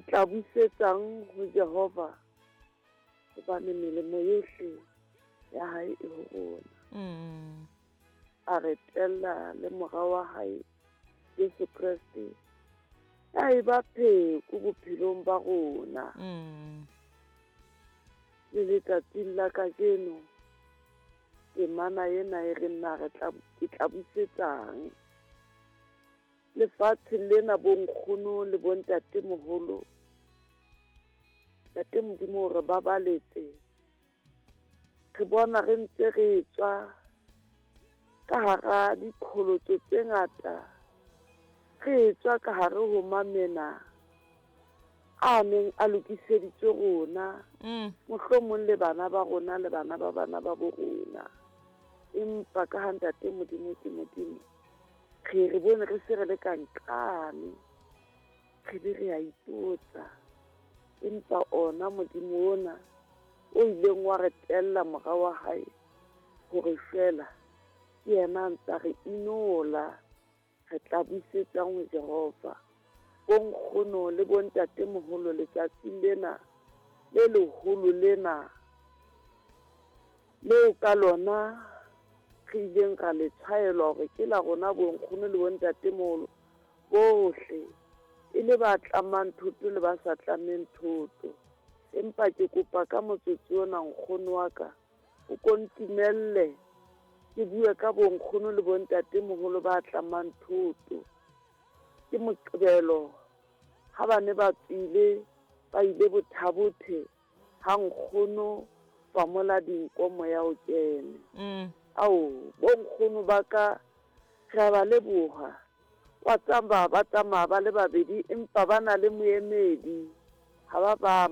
Ke tla busetsang ho Jehova, hobane melemo yohle ya hae e ho rona. A re tella le mora wa hae Jesu Kreste, ya eba pheko bophelong ba rona. Le letsatsing la kajeno, temana ena e re na re tla, ke tla busetsang lefatshe lena bonkgono le bontatemoholo. Ntate Modimo re babaletse, re bona re ntse re tswa ka hara diqholotso tse ngata, re tswa ka hare ho mamena a neng a lokiseditswe rona, mohlomong le bana ba rona le bana ba bana ba bo rona. Empa ka ha Ntate Modimo ke Modimo, re re bone re se re le ka nqane, re be re a ipotsa, empa ona Modimo ona o ileng wa re tella mora wa hae hore feela ke yena a ntsa re inola, re tla busetsang ho Jehova. Bonkgono le bontatemoholo letsatsing lena le leholo lena leo ka lona re ileng ra le tshwaelwa hore ke la rona bonkgono le bontatemoholo bohle, e le ba tlamang thoto le ba sa tlameng thoto. Empa ke kopa ka motsotso ona nkgono wa ka o ko ntumelle ke bue ka bonkgono le bontatemoholo ba tlamang thoto. Ke Moqebelo ha ba ne ba tswile ba ile Bothabothe ha nkgono famola dinko moya o kene. Ao, bonkgono ba ka re a ba leboha. Wa tsamaya ba tsamaya ba le babedi empa ba na le moemedi, ha ba bang.